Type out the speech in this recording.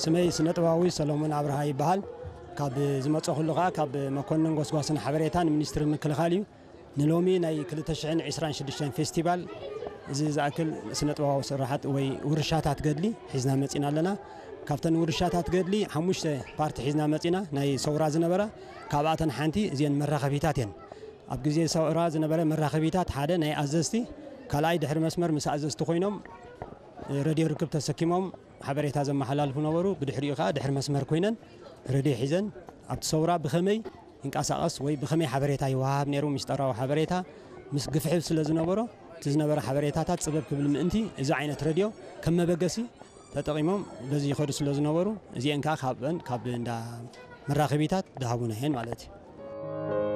ስመይ ስነጥባዊ ሰሎሞን ኣብርሃ ይበሃል። ካብ ዝመፀኹሉ ከዓ ካብ መኮንን ጎስጓስን ሓበሬታን ሚኒስትሪ ምክልኻል እዩ። ንሎሚ ናይ ክልተ ሽሕን ዕስራን ሽዱሽተን ፌስቲቫል እዚ ዝኣክል ስነጥባዊ ስራሓት ወይ ውርሻታት ገድሊ ሒዝና መፂና ኣለና። ካብተን ውርሻታት ገድሊ ሓሙሽተ ፓርቲ ሒዝና መፂና፣ ናይ ሰውራ ዝነበራ፣ ካብኣተን ሓንቲ እዚአን መራኸቢታት እየን። ኣብ ግዜ ሰውራ ዝነበረ መራኸቢታት ሓደ ናይ ኣዘዝቲ፣ ካልኣይ ድሕሪ መስመር ምስ ኣዘዝቲ ኮይኖም ረድዮ ርክብ ተሰኪሞም ሓበሬታ ዘመሓላልፉ ነበሩ። ብድሕሪኡ ከዓ ድሕሪ መስመር ኮይነን ረድዮ ሒዘን ኣብቲ ሰውራ ብኸመይ ይንቀሳቐስ ወይ ብኸመይ ሓበሬታ ይወሃብ ነይሩ፣ ምስጢራዊ ሓበሬታ ምስ ግፍሕፍ ስለ ዝነበሮ፣ እቲ ዝነበረ ሓበሬታታት ጽበብ ክብል ምእንቲ እዚ ዓይነት ረድዮ ከም መበገሲ ተጠቒሞም በዚ ይኸዱ ስለ ዝነበሩ፣ እዚአን ከዓ ካብአን ካብ እንዳ መራኸቢታት ዝሃቡና እየን ማለት እዩ።